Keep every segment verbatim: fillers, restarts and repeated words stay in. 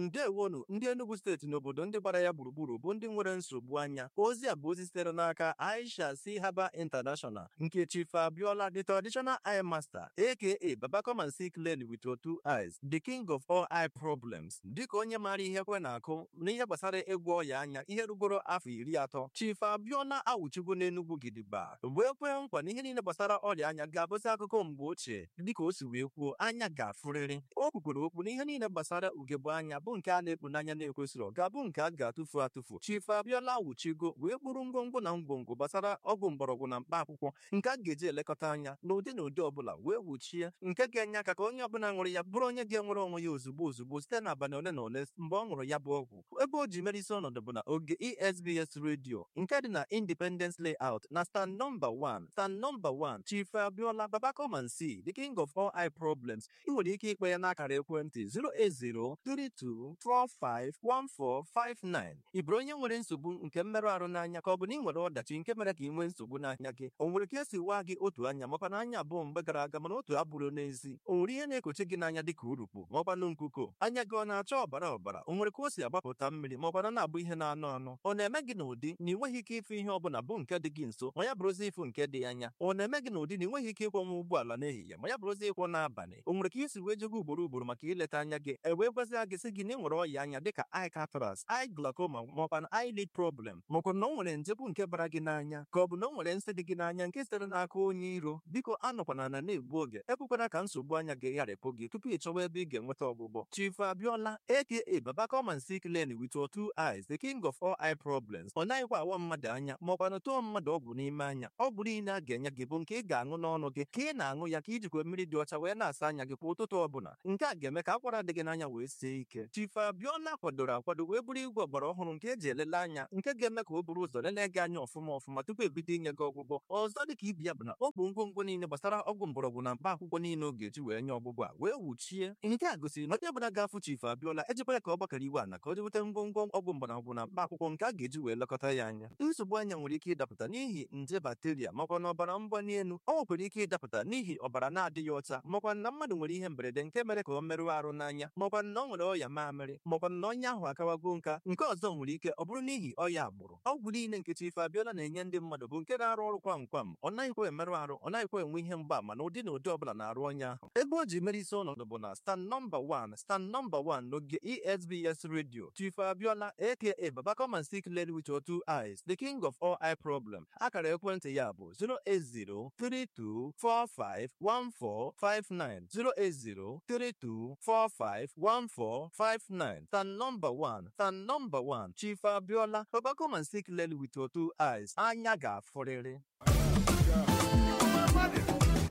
Ndewonu ndị Enugu steeti n'obodo ndị gbara ya gburugburu bụ ndị nwere nsogbu anya. Ozi a bụ ozi sitere n'aka Aisha C Haba International nke Chief Abiola, the traditional eye master, aka Baba come and see clearly with your two eyes, the king of all eye problems. Dịka onye maara ihe kwe na-akụ n'ihe gbasara ịgwọ ọya anya ihe rugoro afọ iri atọ, Chief Abiola awụchigo n'Enugu gidigba wee kwee nkwa na ihe niile gbasara ọrịa anya ga-abụzi akụkọ mgbe ochie. Dịka o si wee kwuo, anya ga-afụrịrị. O kwukwere okwu na ihe niile gbasara ugegbe anya bụ nke a na-ekpu n'anya na-ekwesịrị ga-abụ nke a ga-atụfu atụfu. Chief Abiola awụchigo wee kpụrụ ngwongwo na ngwongwo gbasara ọgwụ mgbọrọgwụ na mkpa akwụkwọ nke a ga-eji elekọta anya n'ụdị na ụdị ọbụla wee wuchie, nke ga-enye aka ka onye ọbụla ṅụrụ ya bụrụ onye ga-enwere onwe ya ozugbo ozugbo site n'abalị ole na ole mgbe ọ ṅụrụ ya bụ ọgwụ. Ebe o ji mere isi ọnọdụ bụ na oge E S B S Radio nke dị na Independence Layout na stand nọmba one, stand nọmba one, Chief Abiola, Baba come and see, the king of all eye problems. Ị nwere ike ikpe ya n'akara ekwentị zero eight zero three two four five one four five nine. Ị bụrụ onye nwere nsogbu nke mmerụ ahụ n'anya, ka ọ bụ na ị nwere ọdachi nke mere ka ị nwee nsogbu n'anya gị, o nwere ka esi waa gị otu anya makwa na anya abụọ mgbe gara aga mana otu abụrụ n'ezi, o nwere ihe na-ekochi gị n'anya dịka urukpu maọkwanụ nkuko, anya gị ọ na-acha ọbara ọbara, o nwere ka o si agbapụta mmiri maọkwana na-abụ ihe na-anụ anụ, ọ na-eme gị n'ụdị na ị nweghị ike ịfụ ihe ọbụla bụ nke dị gị nso ma ya bụrụzi ịfụ nke dị anya, ọ na-eme gị n'ụdị na ị nweghị ike ịkwọnwa ụgbọala n'ehihie ma ya bụrụzi ịkwọ n'abalị, o nwere ka isi wee jego ugboro ugboro maka ileta anya gị e wee gwazie gị sị gị na ị nwere ọya anya dịka eye cataract, eye glaucoma maọkwanụ eyelid problem, maọkwa na o nwere nje bụ nke bara gị n'anya, ka ọ bụ na o nwere nsị dị gị n'anya nke sitere n'aka onye iro. Biko anọkwana na na-egbu oge, ekwekwana ka nsogbu anya gị gharịpụ gị tupu ị chọwa ebe ị ga-enweta ọgwụgwọ. Chief Abiola aka Baba come and see clearly with your two eyes, the king of all eye problems. Ọ naghịkwa awa mmadụ anya maọkwanụ tụọ mmadụ ọgwụ n'ime anya. Ọgwụ niile a ga-enye gị bụ nke ị ga-aṅụ n'ọnụ gị, ka ị na-aṅụ ya ka ijikwa mmiri dị ọcha wee na-asa anya gị kwa ụtụtụ ọbụla. Nke a ga-eme ka akwara dị gị n'anya wee sie ike. Chief Abiola kwadoro akwado wee bụrụ igwe ọgbara ọhụrụ nke eji elele anya, nke ga-eme ka o buru ụzọ lelee gị anya ọfụma ọfụma tupu ebido inye gị ọgwụgwọ. Ọzọ dịka ibi ya bụ na ọ bụ ngwongwo niile gbasara ọgwụ mgbọrọgwụ na mkpa akwụkwọ niile ọ ga-eji wee nye ọgwụgwọ a wee wuchie. Nke a gosiri na onye ọbụla ga-afụ Chief Abiola ejikwa ya ka ọ gbakọrọ iwe ala ka o jeweta ngwongwo ọgwụ mgbọrọgwụ na mkpa akwụkwọ nke a ga-eji wee lekọta ya anya. Nsogbu anya nwere ike ịdapụta n'ihi nje bakteria makwa na ọbara mgbali elu. Ọ nwekwara ike ịdapụta n'ihi ọbara na-adịghị ọcha, makwa na mmadụ nwere ihe mberede nke mere ka ọ merụọ arụ n'anya, makwa na ọ nwere ọya mamịrị, makwa na onye ahụ akawago nka. Nke ọzọ nwere ike ọ bụrụ n'ihi ọya agbụrụ. Ọgwụ niile nke Chief Abiola na-enye ndị mmadụ bụ nke na-arụ ọrụ kwam kwam. Ọ naghịkwa emerụ arụ, ọ naghịkwa enwe ihe mgbaama na ụdị na ụdị ọbụla na-arụ onye ahụ. Ebe o ji mere isi ọnọdụ bụ na stand nọmba one, stand nọmba one n'oge E S B S Radio. Chief Abiola aka Baba come and see clearly with your two eyes, the king of all eye problem. Akara ekwentị ya bụ zero eight zero three two four five one four five nine, zero eight zero three two four five one four five nine. Stand nọmba one, stand nọmba one, Chief Abiola, Baba come and see clearly with your two eyes. Anya ga-afụrịrị.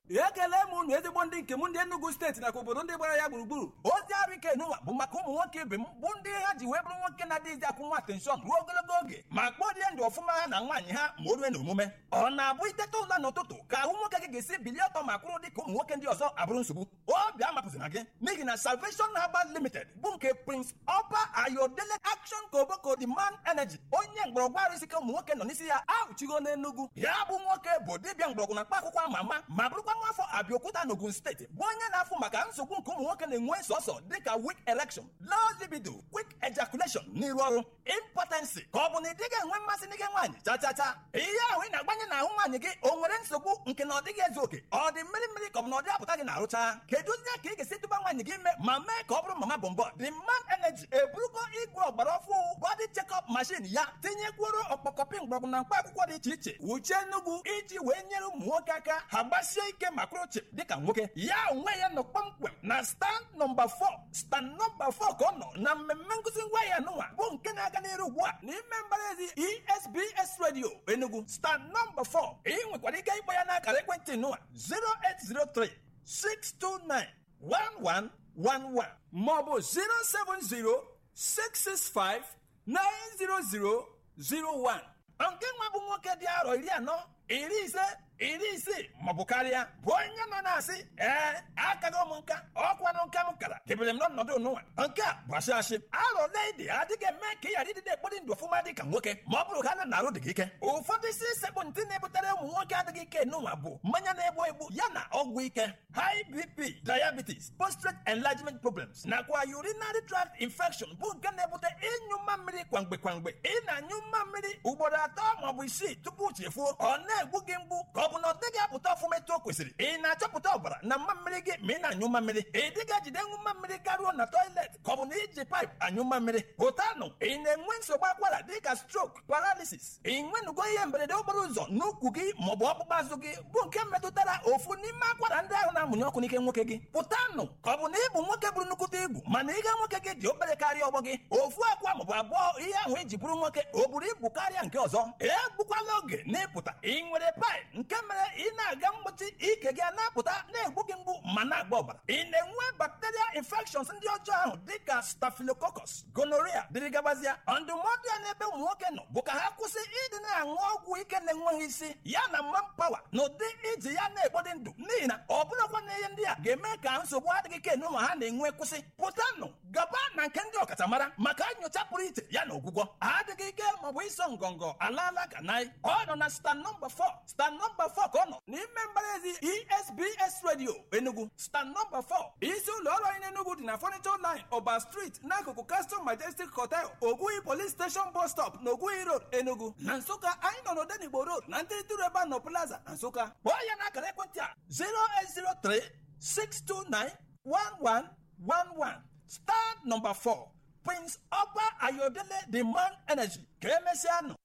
Ekele m unu ezigbo ndị nke m ndị Enugu steeti nakwa obodo ndị gbara ya gburugburu. Ozi arụ ike n'ụwa bụ maka ụmụ nwoke ibe m bụ ndị ha ji wee bụrụ nwoke na-adịghịzi akwụ nwa atenshọn ruo ogologo oge ma kpọrie ndụ ọfụma ha na nwaanyị ha ma o rue n'omume. Ọ na-abụ iteta ụla n'ụtụtụ ka ahụ nwoke gị ga-esi bilie ọtọ ma kwụrụ dị ka ụmụ nwoke ndị ọzọ abụrụ nsogbu. Obi amapụzina gị n'ihi na Salvation Herbal Limited bụ nke Prince Ọba Ayodele Action Koboko the Man Energy, onye mgbọrọgwụ arụsike ụmụ nwoke nọ n'isi ya ahụchigo n'Enugu. Ya bụ nwoke bụ dibịa mgbọrọgwụ na mkpa akwụkwọ ama ama ma bụrụkwa nwa afọ Abịaokuta n'Ogun steeti, bụ onye na-afụ maka nsogbu nke ụmụ nwoke na-enwe sọsọ dịka weak erection, low libido, quick ejaculation n'iru ọrụ, impotency, ka ọ bụ na ị dịghị enwe mmasị n'ike nwaanyị chachacha. Ihe ahụ ị na-agbanye n'ahụ nwaanyị gị o nwere nsogbu nke na ọ dịghị ezu oke, ọ dị mmiri mmiri ka ọ bụ na ọ dị apụta gị na-arụcha. Kedụzie ka ị ga-esi tụba nwaanyị gị ime ma mee ka ọ bụrụ mama bọmbọ? The Man Energy eburugo igwe ọgbara ọfụ body check-up machine ya tinyekwuoro ọkpọkọpị mgbọrọgwụ na mkpa akwụkwọ dị iche iche wuchie Enugu iji wee nyere ụmụ nwoke aka ha gbasie ike ma kwụrụ chịm dịka nwoke. Ya onwe ya nọ kpọmkwem na stand nọmba four, stand nọmba four ka ọ nọ na mmemme nkụzi ngwaahịa n'ụwa bụ nke na-aga n'iru ugbu a n'ime mbara ezi E S B S Radio Enugu, stand nọmba four. Ị nwekwara ike ịkpọ ya n'akara ekwentị n'ụwa zero eight zero three six two nine one one one one maọbụ zero seven zero six six five nine zero zero zero one. Nke nwa bụ nwoke dị arọ iri anọ, iri ise, iri isii maọbụ karịa bụ onye nọ na-asị ee akago m nka ọkwanụ nka m kara debere m n'ọnọdụ n'ụwa nke a bụ asị asị arọ ole dị adịghị eme ka ị ghara ịdị na-ekpori ndụ ọfụma dị ka nwoke ma ọ bụrụ ha na na-arụ dị gị ike. Ụfọdụ isi sekpụ ntị na-ebutere ụmụ nwoke adịghị ike n'ụwa bụ mmanya na-egbu egbu ya na ọgwụ ike, high B P, diabetes, prostate enlargement problems nakwa urinary tract infection bụ nke na-ebute ịnyụ mmamịrị kwamgbe kwamgbe. Ị na-anyụ mmamịrị ugboro atọ maọbụ isii tupu chefuo, ọ na-egbu gị mgbu ka ọ bụ na ọ dịghị apụta ọfụma etu o kwesịrị. Ị na-achọpụta ọbara na mmamịrị gị ma ị na-anyụ mmamịrị. Ị dịghị ejide ṅụ mmamịrị karịa na toilet ka ọ bụ na iji paịpụ anyụ mmamịrị pụtanụ. Ị na-enwe nsogbu akwara dịka stroke, paralysis. Ị nwenugo ihe mberede okporo ụzọ n'ukwu gị maọbụ ọkpụkpụ azụ gị bụ nke metụtara ofu n'ime akwara ndị ahụ na-amụnye ọkụ n'ike nwoke gị pụtanụ, ka ọ bụ na ịbụ nwoke bụrụ nnukwute ibu mana ihe nwoke gị dị obere karịa ọgbọ gị, ofu akwa maọbụ abụọ ihe ahụ eji bụrụ nwoke o buru ibu karịa nke ọzọ. Egbukwala oge n'ịpụta. Ị nwere paịp nke mere ị na-aga mgbochi ike gị na-apụta na-egbu gị mgbu ma na-agba ọbara. Ị na-enwe bacterial infections ndị ọjọọ ahụ dịka staphylococcus, gonorrhea dịrị gabazia. Ndụmọdụ ya n'ebe ụmụ nwoke nọ bụ ka ha kwụsị ịdị na-aṅụ ọgwụ ike na-enweghị isi ya na manpower na ụdị iji ya na-ekpodị ndụ, n'ihi na ọ bụrụkwa na ihe ndị a ga-eme ka nsogbu adịghị ike n'ụmụ ha na-enwe kwụsị. Pụtanụ gaba na nke ndị ọkachamara maka nyocha pụrụ iche ya na ọgwụgwọ adịghị ike maọbụ ịsọ ngọngọ alaala ka nai. Ọ nọ na stand nọmba four, stand nọmba four ka ọ nọ n'ime mbaraezi E S B S Radio Enugu, stand nọmba four. Isi ụlọ ọrụ anyị n'Enugu dị na Furniture Line, Ọba Street, n'akụkụ Castle Majestic Hotel, Ogui Police Station bus stop na Ogui Road, Enugu. Na Nsụka anyị nọ n'Odenigbo Road na ntịrịtụrụ ebe a nọ Plaza na Nsụka. Kpọọ ya n'akara ekwentị a: zero eight zero three six two nine one one one one. Star number four, Prince Ọba Ayodele, the Man Energy. Ka emesịa nụ.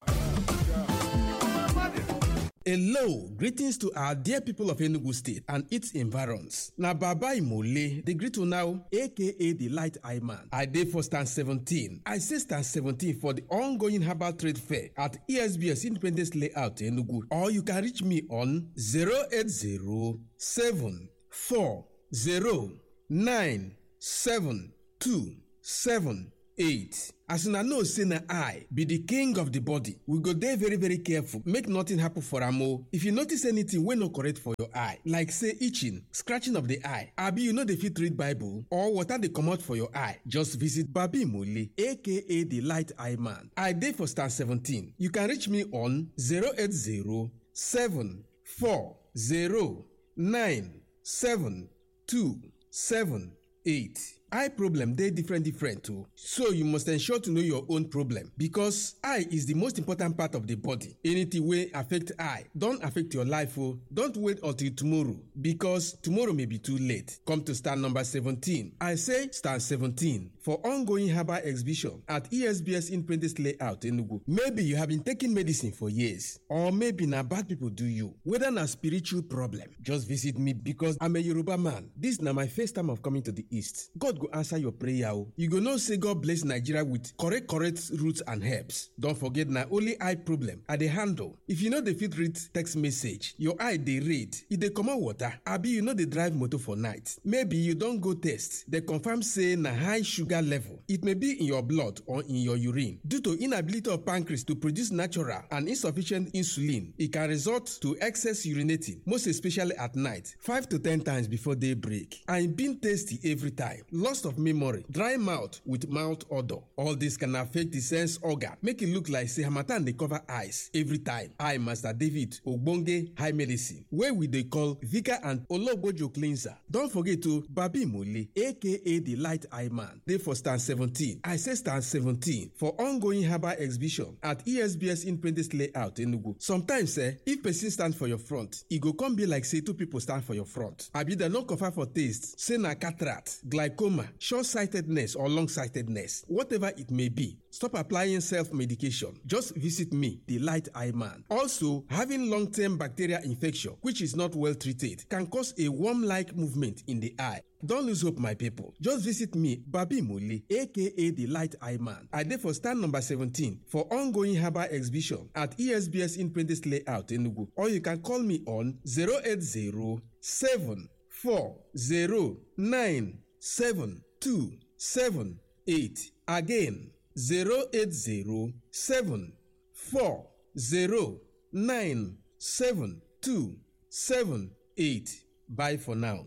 Hello, greetings to our dear people of Enugu State and its environs. Na Baba Imole, the greet you now, A K A the Light Eye Man. I dey for stand seventeen. I say stand seventeen for the ongoing herbal trade fair at E S B S Independence Layout, Enugu. Or you can reach me on zero eight zero seven four zero nine seven two seven eight. As una know say na I be the king of the body, we go dey very very careful make nothing happen for am o. If you notice anything wey no correct for your eye, like say itching, scratching of the eye, abi you no dey fit read Bible or water dey comot for your eye, just visit Babi Mole, A K A the Light Eye Man. I dey for stand seventeen. You can reach me on zero eight zero seven four zero nine seven two seven eight. Eye problem dey different different o, so you must ensure to know your own problem because eye is the most important part of the body. Anything wey affect eye don affect your life o. Don't wait until tomorrow because tomorrow may be too late. Come to stand number seventeen. I say stand seventeen for ongoing herbal exhibition at E S B S Independence Layout, Enugu. Maybe you have been taking medicine for years or maybe na bad people do you. Whether na spiritual problem, just visit me because I'm a Yoruba man. This na my first time of coming to the East. God go answer your prayer o. You go know say God bless Nigeria with correct correct roots and herbs. Don forget na only eye problem I dey handle. If you no dey fit read text message, your eye dey read, e dey comot water, abi you no dey drive motor for night. Maybe you don go test, dem confirm say na high sugar level. It may be in your blood or in your urine. Due to inability of pancreas to produce natural and insufficient insulin, e can result to excess urinating, most especially at night, five to ten times before daybreak, and being tasty every time. Loss of memory, dry mouth with mouth odor. All this can affect the sense organ, make e look like say harmattan dey cover eyes every time. I, Master David Ogbonge High Medicine, wey we dey call Vika and Ologbojo Cleanser. Don forget to Babi Mole, A K A the Light Eye Man, dey for stand seventeen. I say stand seventeen for ongoing herbal exhibition at E S B S Independence Layout, Enugu. Sometimes eh, if person stand for your front, e go come be like say two people stand for your front. Abi dem no confirm for taste, say na cataract, glaucoma, short-sightedness or long-sightedness, whatever it may be. Stop applying self-medication. Just visit me, the Light Eye Man. Also, having long-term bacterial infection, which is not well treated, can cause a worm-like movement in the eye. Don't lose hope, my people. Just visit me, Babi Mole, A K A the Light Eye Man. I dey for stand number seventeen for ongoing herbal exhibition at E S B S Independence Layout, Enugu. Or you can call me on zero eight zero seven four zero nine seven two seven eight. Again, zero eight zero seven four zero nine seven two seven eight. Bye for now.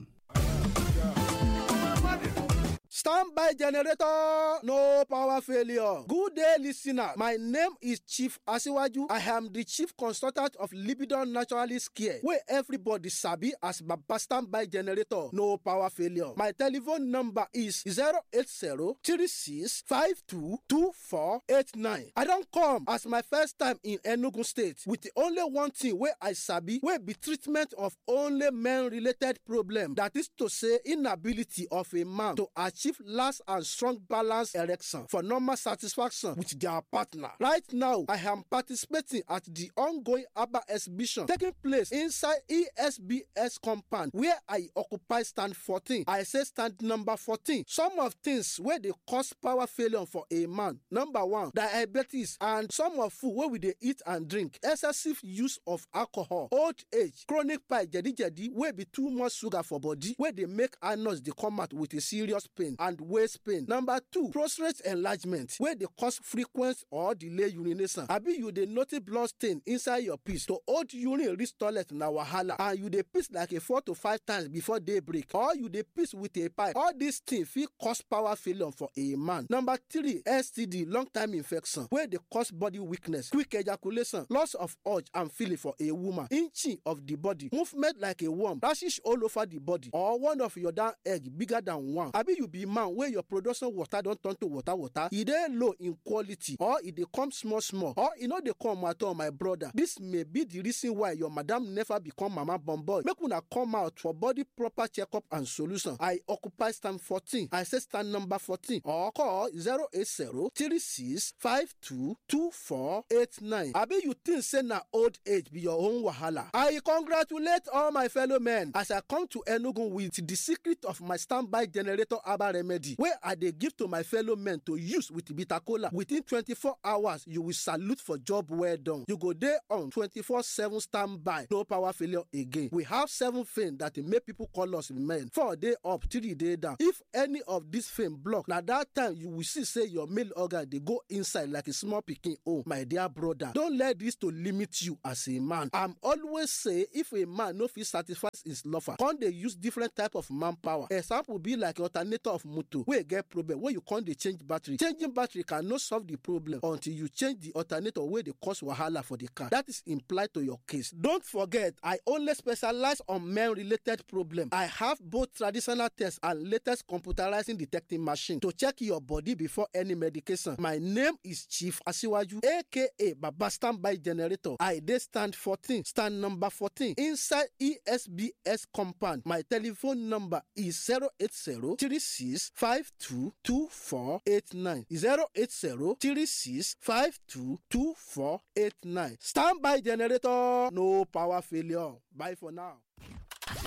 Standby generator, no power failure. Good day, listener. My name is Chief Asiwaju. I am the chief consultant of Libidon Naturalist Care, where everybody sabi as Baba Standby Generator, no power failure. My telephone number is zero eight zero three six five two two four eight nine. I don come as my first time in Enugu State with the only one thing wey I sabi wey be treatment of only men-related problem. That is to say, inability of a man to achieve last and strong balance erection for normal satisfaction with their partner. Right now, I am participating at the ongoing ABBA exhibition taking place inside E S B S compound where I occupy stand fourteen. I say stand number fourteen. Some of things wey dey cause power failure for a man. Number one, diabetes and some of food wey we dey eat and drink, excessive use of alcohol, old age, chronic pie jedi-jedi wey be too much sugar for body wey dey make anus dey come out with a serious pain and waist pain. Number two, prostate enlargement wey dey cause frequent or delay urination. Abi you dey notice blood stain inside your piss to hold urine reach toilet na wahala and you dey piss like a four to five times before daybreak or you dey piss with a pipe. All these things fit cause power failure for a man. Number three, S T D, long time infection wey dey cause body weakness, quick ejaculation, loss of urge and feeling for a woman, inching of the body, movement like a worm, rashes all over the body or one of your down egg bigger than one. Abi you be man wey your production water don turn to water water, e dey low in quality or e dey come small small or e no dey come at all, my brother. This may be the reason why your madam never become mama born boy. Make una come out for body proper checkup and solution. I occupy stand fourteen. I say stand number fourteen or call zero eight zero three six five two two four eight nine. Abi you think say na old age be your own wahala? I congratulate all my fellow men as I come to Enugu with the secret of my standby generator herbal remedy wey I dey give to my fellow men to use with bitter kola. Within twenty-four hours, you will salute for job well done. You go dey on twenty-four seven standby, no power failure again. We have seven things that dey make people call us men. Four dey up, three dey down. If any of this thing block, na that time you will see say your male organ dey go inside like a small pikin own. My dear brother, don't let this to limit you as a man. I'm always say if a man no fit satisfy his lover, come dey use different type of manpower. Example be like alternator of motor wey get problem wey you come dey change battery. Changing battery cannot solve the problem until you change the alternator wey dey cause wahala for the car. That is implied to your case. Don't forget, I only specialize on men-related problem. I have both traditional tests and latest computerizing detecting machine to check your body before any medication. My name is Chief Asiwaju, aka Baba Standby Generator. I dey stand fourteen, stand number fourteen inside E S B S compound. My telephone number is zero eight zero three six five two two four eight nine zero eight zero three six five two two four eight nine. Standby generator, no power failure. Bye for now.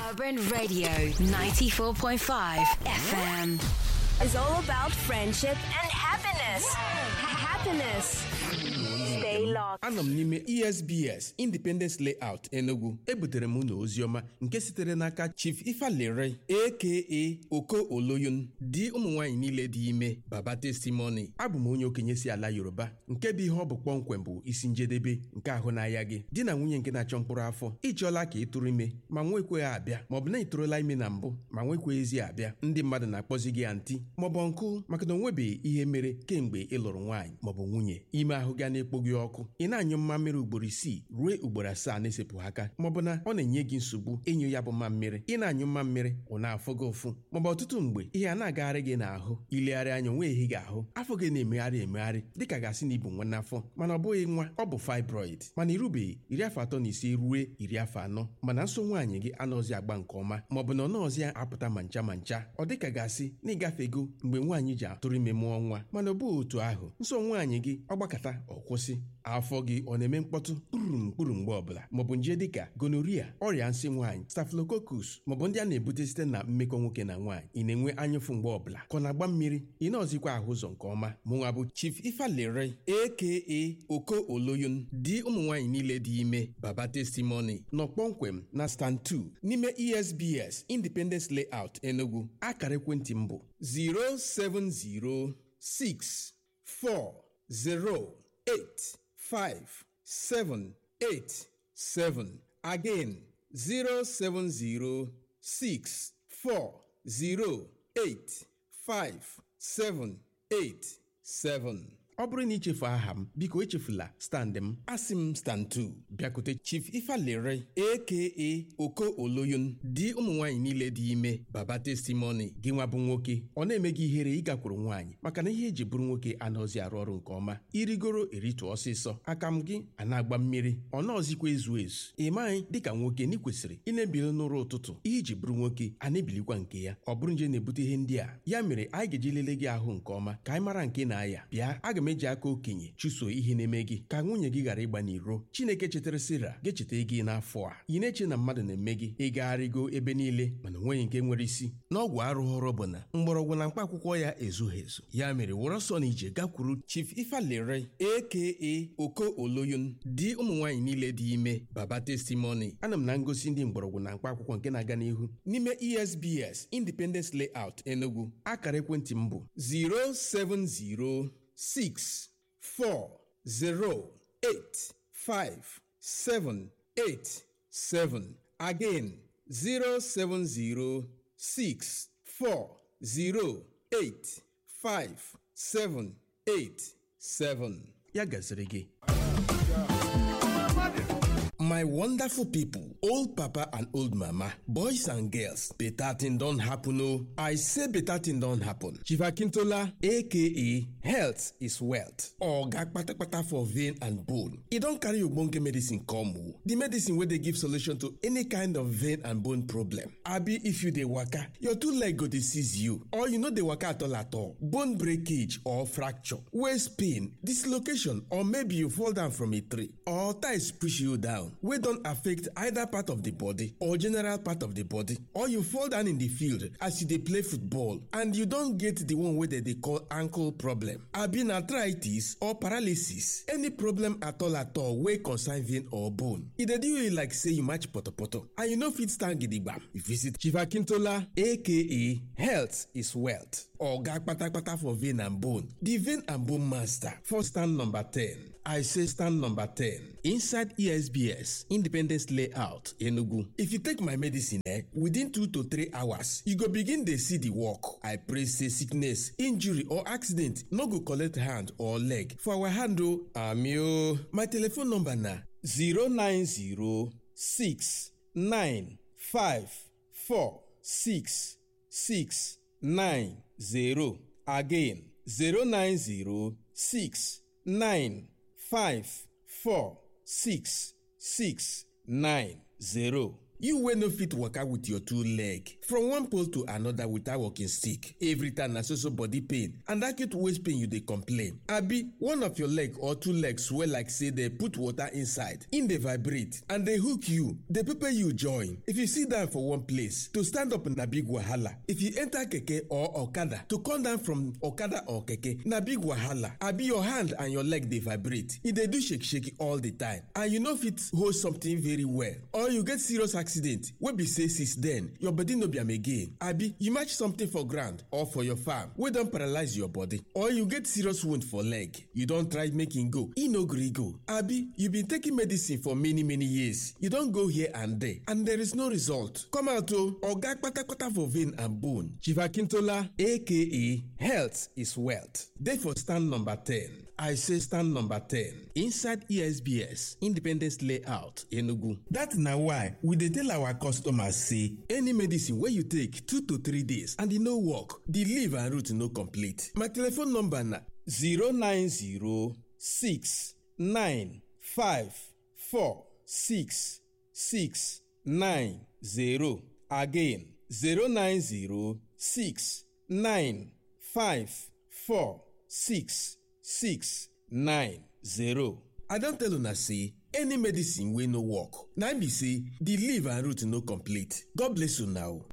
Urban Radio ninety-four point five F M is all about friendship and happiness. Happiness. Stay locked. Anọ m n'ime E S B S Independence Layout Enugu. Ebutere m unu oziọma nke sitere n'aka Chief Ifalere aka Oko Oloyun di ụmụ nwaanyị niile dị ime Baba Testimony. Abụ m onye okenye si ala Yoruba nke bụ ihe ọ bụ kpọmkwem bụ isi njedebe nke ahụ n'ahịa gị. Di na nwunye nke na-achọ mkpụrụ afọ ịchọọla ka ị tụrụ ime ma nwekweghị abịa maọbụ na ị tụrụla ime na mbụ ma nwekweghịzi abịa. Ndị mmadụ na-akpọzi gị anti maọbụ nkụ maka na o nwebeghị ihe mere kemgbe ị lụrụ nwaanyị maọbụ nwunye. Ime ahụ ga na-ekpo gị ọkụ, ị na-anyụ mmammiri ugboro isii ruo ugboro asaa na-esepụghị aka maọbụ na ọ na-enye gị nsogbu ịnyụ ya bụ mmammiri. Ị na-anyụ mmammiri ọ na-afụ gị ụfụ maọbụ ọtụtụ mgbe ihe a na-agagharị gị n'ahụ, ilegharị anya onwe ehi gị ahụ, afọ gị na-emegharị emegharị dịka gasị na ibu nwa n'afọ mana ọ bụghị nwa, ọ bụ fibroid. Mana irubeghị iri afọ atọ na ise ruo iri afọ anọ mana nso nwaanyị gị anọzi agba nke ọma maọbụ na ọ nọọzi apụta ma ncha ma ncha, ọ dịka gasị na ịgafego mgbe nwaanyị ji atụrụ ime mụọ nwa mana ọ bụghị otu ahụ. Nso nwaanyị gị ọ gbakọta ọ kwụsị. Afọ gị ọ na-eme mkpọtụ kpụrụm kpụrụ mgbe ọbụla maọbụ nje dịka gonorrhea, ọrịa nsị nwaanyị, staphylococcus maọbụ ndị a na-ebute site na mmekọ nwoke na nwaanyị. Ị na-enwe anyụfụ mgbe ọbụla ka ọ na-agba mmiri, ị na-ọzikwa ahụ ụzọ nke ọma. Mụnwa bụ Chief Ifalere aka Oko Oloyun di ụmụ nwaanyị niile dị ime Baba Testimony nọ kpọmkwem na stand two n'ime E S B S Independence Layout Enugu. Akara ekwentị m bụ zero seven zero six four zero eight five seven eight seven. Again, zero seven zero six four zero eight five seven eight seven. Ọ bụrụ na ichefu aha m, biko echefula stand m. Asị m stand two, bịakute Chief Ifalere aka Oko Oloyun. Di ụmụ nwaanyị niile dị ime, baba testimony. Gị nwa bụ nwoke ọ na-eme gị ihere ịgakwuru nwaanyị maka na ihe eji bụrụ nwoke anaghịzi arụ ọrụ nke ọma, irigoro eritu ọsịsọ, aka m gị a na-agba mmiri, ọ nọọzikwa ezu ezu. Ị maghị dịka nwoke na ị kwesịrị ị na-ebili n'ụra ụtụtụ, ihe iji bụrụ nwoke a na-ebilikwa nke ya. Ọ bụrụ nje na-ebute ihe ndị a, ya mere anyị ga-eji lelee gị ahụ nke ọma ka anyị mara nke na-aya. Bịa, aga m eji aka okenye chụso ihe na-eme gị ka nwunye gị ghara ịgba n'iro. Chineke chetara Sira ga-echeta gị n'afọ a. Ị na-eche na mmadụ na-eme gị, ịgagharịgo ebe niile mana onweghị nke nwere isi. N'ọgwụ arụghọrọ bụ na mgbọrọgwụ na mkpa akwụkwọ ya ezughị ezu. Ya mere were ọsọ na ije gakwuru Chief Ifalere aka Oko Oloyun, di ụmụ nwaanyị niile dị ime, baba testimony. Ana m na ngosi ndị mgbọrọgwụ na mkpa akwụkwọ nke na-aga n'ihu n'ime E S B S Independence Layout Enugu. Akara ekwentị m bụ zero seven zero six four zero eight five seven eight seven. Again, zero seven zero six four zero eight five seven eight seven. Ya gaziri gị. My wonderful people, old papa and old mama, boys and girls, better thing don happen oh. I say better thing don happen. Chief Akintola, aka Health is Wealth, Oga Kpatakpata for vein and bone. E don carry ogbonge medicine come oh. The medicine wey dey give solution to any kind of vein and bone problem. Abi if you dey waka, your two leg go dey seize you, or you no dey waka at all at all. Bone breakage or fracture, waist pain, dislocation, or maybe you fall down from a tree, or ties push you down, wey don affect either part of the body or general part of the body, or you fall down in the field as you dey play football and you don get the one wey dem dey call ankle problem, abi na arthritis or paralysis, any problem at all at all wey concern vein or bone. E dey do you like say you match potopoto and you no fit stand gidigbam. You visit Chief Akintola aka Health is Wealth, Oga Kpatakpata for vein and bone, the vein and bone master for stand number ten. I say stand number ten inside E S B S Independence Layout, Enugu. If you take my medicine, eh, within two to three hours, you go begin dey see the work. I pray say sickness, injury or accident no go collect hand or leg for our hand o. Ami o. My telephone number na zero nine zero six nine five four six six nine zero. Again, zero nine zero six nine five four six six nine zero. You wey no fit waka with your two leg from one pole to another without walking stick. Every time na so so body pain and acute waist pain you dey complain. Abi one of your leg or two legs swell like say dey put water inside, e dey vibrate and dey hook you, dey pepper you join. If you sit down for one place, to stand up na big wahala. If you enter keke or okada, to come down from okada or keke na big wahala. Abi your hand and your leg dey vibrate, e dey do shake shake all the time and you no fit hold something very well, or you get serious accident wey be say since then your body no be am again. Abi you match something for ground or for your farm wey don paralyze your body, or you get serious wound for leg, you don try make e go, e no gree go. Abi you been taking medicine for many many years, you don go here and there and there is no result. Come out o. Oga Kpatakpata for vein and bone, Chief Akintola aka Health is Wealth, dey for stand number ten. I say stand number ten inside E S B S Independence Layout, Enugu. That na why we dey tell our customers say any medicine wey you take two to three days and e no work, the leaf and root no complete. My telephone number na zero nine zero six nine five four six six nine zero. Again, zero nine zero six nine five four six six nine zero. I don tell una say any medicine wey no work na im be say the leaf and root no complete. God bless una o.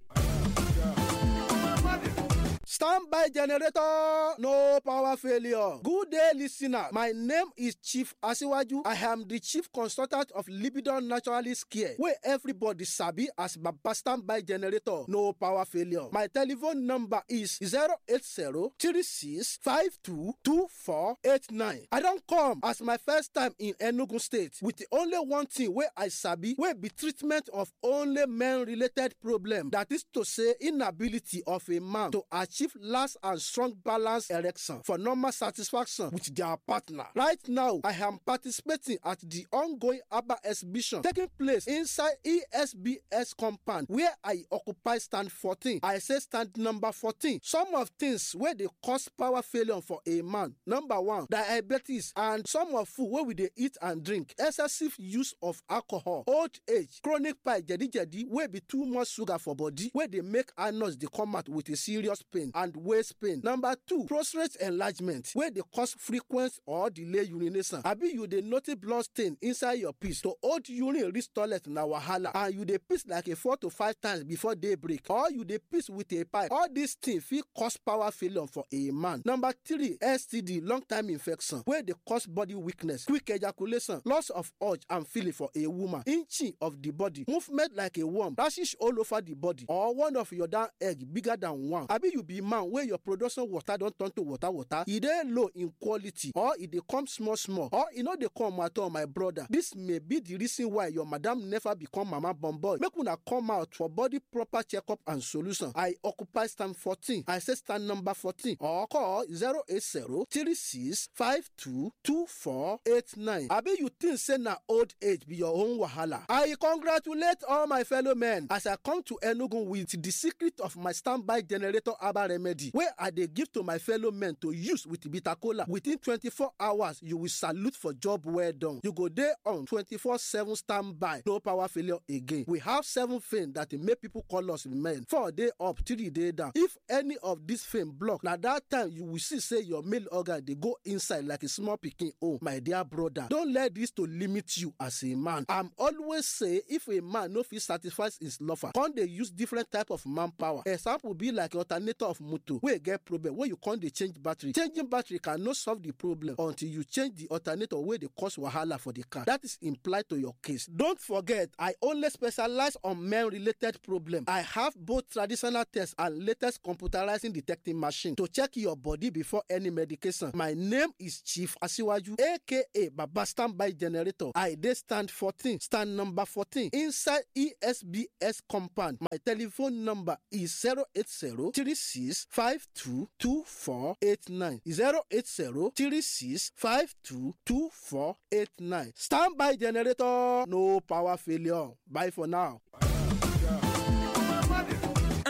Stand Standby generator, no power failure. Good day, listener. My name is Chief Asiwaju. I am the chief consultant of Libidon Naturalist Care, where everybody sabi as Baba Standby Generator, no power failure. My telephone number is zero eight zero three six five two two four eight nine. I don come as my first time in Enugu State with the only one thing wey I sabi wey be treatment of only men-related problem. That is to say, inability of a man to achieve last and strong balance erection for normal satisfaction with their partner. Right now, I am participating at the ongoing ABBA exhibition taking place inside E S B S compound where I occupy stand fourteen. I say stand number fourteen. Some of things wey dey cause power failure for a man. Number one, diabetes and some of food wey we dey eat and drink, excessive use of alcohol, old age, chronic pie jedi-jedi wey be too much sugar for body wey dey make anus dey come out with a serious pain and waist pain. Number two, prostate enlargement wey dey cause frequent or delay urination. Abi you dey notice blood stain inside your piss to hold urine reach toilet na wahala, and you dey piss like a four to five times before day break, or you dey piss with a pipe. All these things fit cause power failure for a man. Number three, S T D, long time infection wey dey cause body weakness, quick ejaculation, loss of urge and feeling for a woman, inching of the body, movement like a worm, rashes all over the body, or one of your down egg bigger than one. Abi you be man wey your production water don turn to water water, e dey low in quality, or e dey come small small, or e no dey come at all, my brother. This may be the reason why your madam never become mama born boy. Make una come out for body proper checkup and solution. I occupy stand fourteen. I say stand number fourteen, or call zero eight zero three six five two two four eight nine. Abi you think say na old age be your own wahala? I congratulate all my fellow men as I come to Enugu with the secret of my standby generator herbal remedy wey I dey give to my fellow men to use with bitter kola. Within twenty-four hours, you will salute for job well done. You go dey on twenty-four seven standby, no power failure again. We have seven things that make people call us men. Four day up, three day down. If any of this thing block, na that time you will see say your male organ dey go inside like a small pikin own. My dear brother, don't let this to limit you as a man. I'm always say if a man no fit satisfy his lover, come dey use different type of manpower. Example be like alternator of motor wey get problem wey you come dey change battery. Changing battery cannot solve the problem until you change the alternator wey dey cause wahala for the car. That is implied to your case. Don't forget, I only specialize on men-related problem. I have both traditional tests and latest computerizing detecting machine to check your body before any medication. My name is Chief Asiwaju, aka Baba Standby Generator. I dey stand fourteen, stand number fourteen inside E S B S compound. My telephone number is zero eight zero three six five two two four eight nine zero eight zero three six five two two four eight nine. Standby generator, no power failure. Bye for now.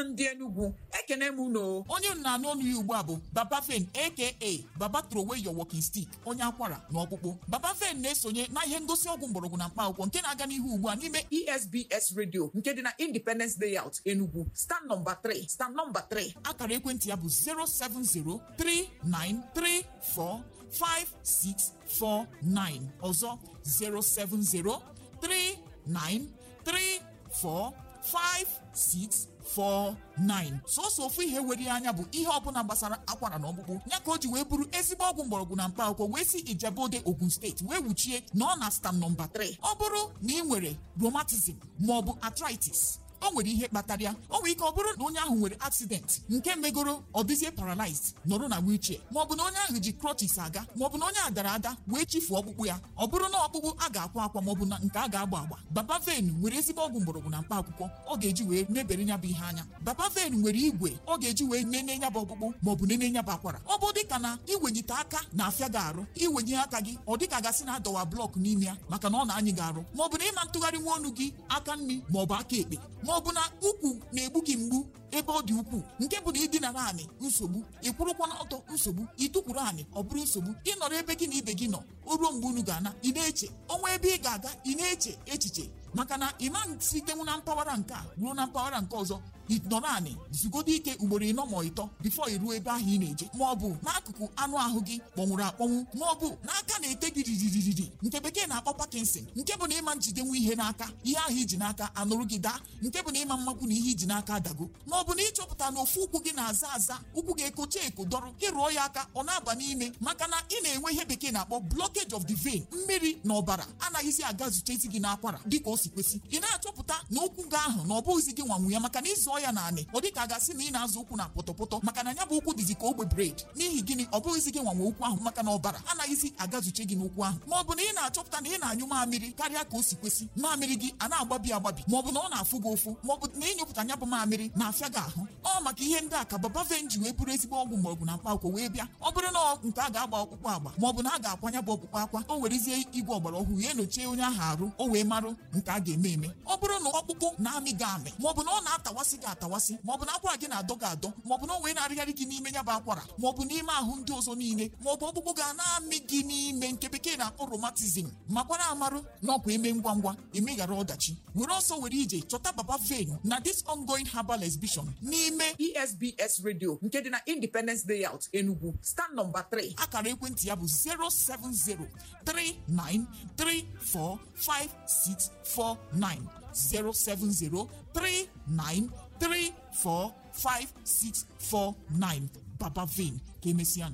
Ndị Enugu, ekene m unu. Onye m na-anụ ọnụ ya ugbu a bụ Baba Fen, aka Baba Throwaway Your Walking Stick, onye akwara na ọkpụkpụ. Baba Fen na-esonye na ihe ngosi ọgwụ mgbọrọgwụ na mkpa akwụkwọ nke na-aga n'ihu ugbu a n'ime E S B S Radio nke dị na Independence Layout, Enugu, stand nọmba three, stand nọmba three. Akara ekwentị ya bụ zero seven zero three nine three four five six four nine. Ọzọ, zero seven zero three nine three four five six four nine. Sọsọ ofu ihe were ya anya bụ ihe ọbụla gbasara akwara na ọkpụkpụ ya ka o ji wee bụrụ ezigbo ọgwụ mgbọrọgwụ na mkpa akwụkwọ wee si Ijebode, Ogun Steeti wee wuchie na ọ na stand nọmba three. Ọ bụrụ na ị nwere rheumatism ma ọ bụ arthritis, o nwere ihe kpatara ya. O nwere ike ọ bụrụ na onye ahụ nwere accident nke megoro ọ dịzie paralyzed, nọrọ na wheelchair, maọbụ na onye ahụ ji crutches aga, maọbụ na onye a dara ada wee chifuo ọkpụkpụ ya. Ọ bụrụ na ọkpụkpụ a ga-akwa akwa maọbụ na nke a ga-agba agba, Baba Fen nwere ezigbo ọgwụ mgbọrọgwụ na mkpa akwụkwọ ọ ga-eji wee mebere ya bụ ihe anya. Baba Fen nwere igwe ọ ga-eji wee nene ya bụ ọkpụkpụ maọbụ nene ya bụ akwara. Ọ bụ dịka na iwenyite aka na-afịa gị arụ, iwenye aka gị ọ dịka gasị na adọwa blọk n'ime ya maka na ọ na-anyị gị arụ, maọbụ na ịma ntụgharị nwa ọnụ gị aka nri maọbụ aka ekpe, maọbụ na ukwu na-egbu gị mgbu ebe ọ dị ukwuu nke bụ na ịdinara anị nsogbu, ị kwụrụkwa n'ọtọ nsogbu, ịtụkwuru anị ọ bụrụ nsogbu, ịnọrọ ebe gị na ibe gị nọ o ruo mgbe unu ga-ana ị na-eche ọnwa ebe ị ga-aga, ị na-eche echiche maka na ị ma sitenwu na mpaghara nke a ruo na mpaghara nke ọzọ. Ịnọrọ anị zugodo ike ugboro ịnọ ma ịtọ bifo iruo ebe ahụ ị na-eje, ma ọ bụ n'akụkụ anụ ahụ gị kpọnwụrụ akpọnwụ, ma ọ bụ n'aka na-ete gị riririririri nke bekee na-akpọ Parkinson, nke bụ na ịma njidenwu ihe n'aka, ihe ahụ iji n'aka anụrụ gị daa, nke bụ na ịma mmakwu na ihe iji n'aka adago, ma ọ bụ na ịchọpụta na ofu ụkwụ gị na-aza aza, ụkwụ ga-ekocha eko dọrọ, ịrụọ ya aka ọ na-aba n'ime, maka na ị na-enwe ihe bekee na-akpọ blockage of the vein. Mmiri na ọbara anaghịzi aga zutezi gị n'akwara dịka o si kwesị. Ị na-achọpụta na ụkwụ gị ahụ na ọ bụghịzi gị nwanwu ya, maka na ịzụọ ya naanị ọ dịka a ga-asị na ị na-azụ ụkwụ na pọtọpọtọ, maka na ya bụ ụkwụ dịzi ka ogbe bred. N'ihi gịnị? Ọ bụghịzi gị nwanwe ụkwụ ahụ, maka na ọbara anaghịzi agazuche gị n'ụkwụ ahụ. Ma ọ bụ na ị na-achọpụta na ị na-anyụ mamịrị karịa ka o si kwesị, mamịrị gị a na-agbabi agbabi, ma ọ bụ na ọ na-afụ gị ụfụ, ma ọ bụ na ịnyụpụta ya bụ mamịrị na-afịa gị ahụ. Ọ maka ihe ndị a ka Baba Ven ji wee bụrụ ezigbo ọgwụ mgbọrọgwụ na mkpa akwụkwọ wee bịa. Ọ bụrụ na nke a ga-agba ọkpụkpụ agba, ma ọ bụ na a ga-akwanya bụ ọkpụkpụ akwa, o werezie igwe ọgbara ọhụrụ ya enochie onye ahụ arụ, o wee marụ nke a ga-eme eme. Ọ bụrụ na ọkpụkpụ na-amị gị amị, ma ọ bụ na ọ na-atawasị gị atawasị, ma ọ bụ na akwara gị na-adọ gị adọ, ma ọ bụ na o wee na-arịgharị gị n'ime ya bụ akwara, ma ọ bụ n'ime ahụ ndị ọzọ niile, ma ọ bụ ọkpụkpụ ga na-amị gị n'ime nke bekee na-akpọ rheumatism, makwara amarụ na ọkwa eme ngwa ngwa emeghara ọdachi. Were ọsọ were ije chọta Baba Ven na this ongoing herbal exhibition n'ime E S B S Radio nke dị na Independence Layout, Enugu, stand nọmba three. Akara ekwentị ya bụ zero seven zero three nine three four five six four nine, zero seven zero three nine three four five six four nine. Baba Ven, ka emesịa.